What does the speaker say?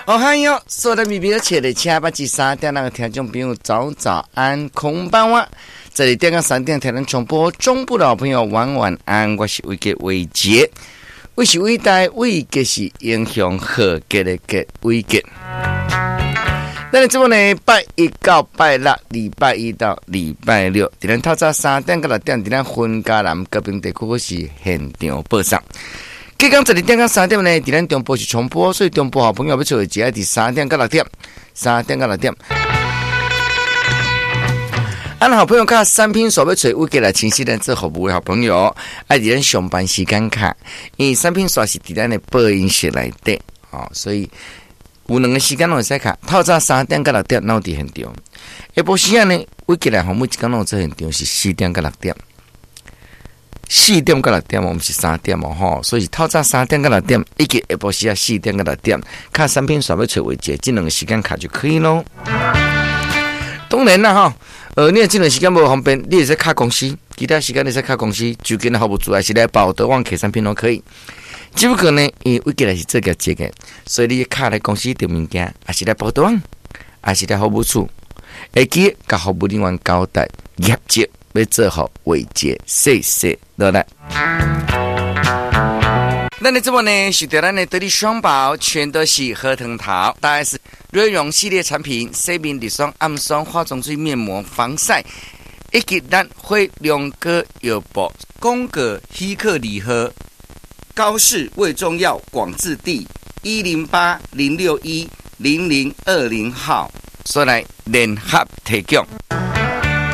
哦嗨喲，所有的咪咪的切的车八至三點那个聽眾朋友早早安，こんばんは。這裡點到三點聽咱重播中部的好朋友晚晚安，我是偉傑偉傑，我是偉大偉傑是英雄何傑的傑偉傑。咱的節目呢，拜一到拜六，禮拜一到禮拜六，佇咱透早3點到6點，佇咱雲嘉南高屏地區是現場播送。隔工12點到3點呢，佇咱中部是重播，所以中部好朋友欲揣偉傑，佇三點到六點，三點到六點。啊，好朋友敲產品線欲揣偉傑來親身來做服務的好朋友，愛佇咱上班時間敲，因為產品線是佇咱的播音室內底，哦，所以有兩個時間攏會使敲，透早三點到六點，攏佇現場。下晡時仔呢，偉傑來吼，每一工攏有做現場是四點到六點。四點到六點哦，毋是三點哦，吼，所以是透早三點到六點，以及下晡時仔四點到六點，敲產品線欲揣偉傑，這兩個時間敲就可以囉。當然啦，吼，你若這段時間無方便，你會使敲公司，其他時間你使敲公司，就近的服務處，還是來寶德旺客產品攏可以。只不過呢，因為偉傑來是做業績的，所以你敲來公司訂物件，還是來寶德旺，還是來服務處，會記共服務人員交代業績。欲做予偉傑，謝謝落來。咱的節目呢，是著咱的得力雙寶，全都是何藤桃，大 S 瑞容系列產品，洗面乳霜、暗霜、化妝水、面膜、防曬，以及咱火龍果藥布。廣告喜客禮盒，高氏胃中藥廣字第108-061-0020號，所來聯合提供。